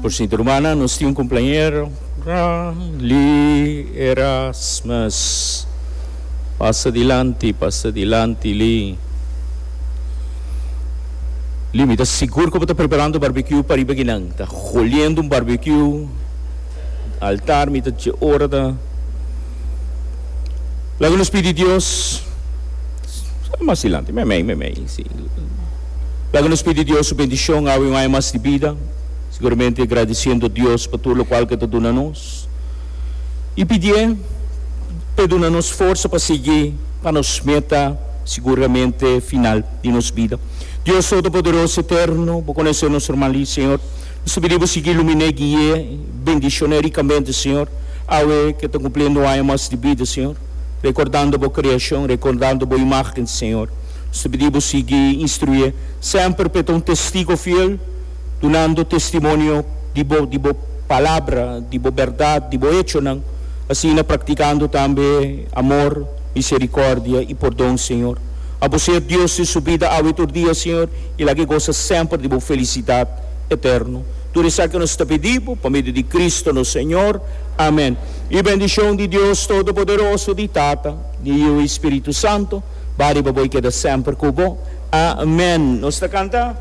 Por sinti rumannan, nos tin un cumpleañero, Lee Erasmus. Pasa dilanti, pasa dilanti, Lee. Lee, mi ta sigur cu bo ta preparando barbecue pa riba akinan. Ta holiendo un barbecue. Altar mi ta dje ora ta. Laga nos pidi Dios. Mas dilanti, meimei, meimei, si. Laga nos pidi Dios su bendicion awe un aña mas di bida, siguramente gradiciendo Dios pa tur locual cu e ta duna nos y pidié p'e duna nos forsa pa sigui pa nos meta siguramente final di nos bida. Dios Todopoderoso Eterno, bo conoce nos ruman Lee, Señor. Nos ta pidi bo sigui iluminé, guié, bendicioné ricamente, Señor, awe cu e ta cumpliendo un aña mas di bida, Señor, recordando bo creacion, recordando bo imagen, Señor. Nos ta pidi bo sigui instruié semper p'e ta un testigo fiel, dunando testimonio di bo, di bo Palabra, di bo bèrdat, di bo echonan, asina praktikando tambe amor, miserikòrdia i pordon, Señor. Abo sea Dios den su bida awe i tur dia, Señor, i laga e gosa semper di bo felisidat eterno. Tur esaki nos ta pidi bo pa medio di Cristo nos Señor. Amen. I bendishon di Dios Todopoderoso, di Tata, di Yu i Spiritu Santo, Ba riba bo i keda semper ku bo. Amen. Nos ta kanta.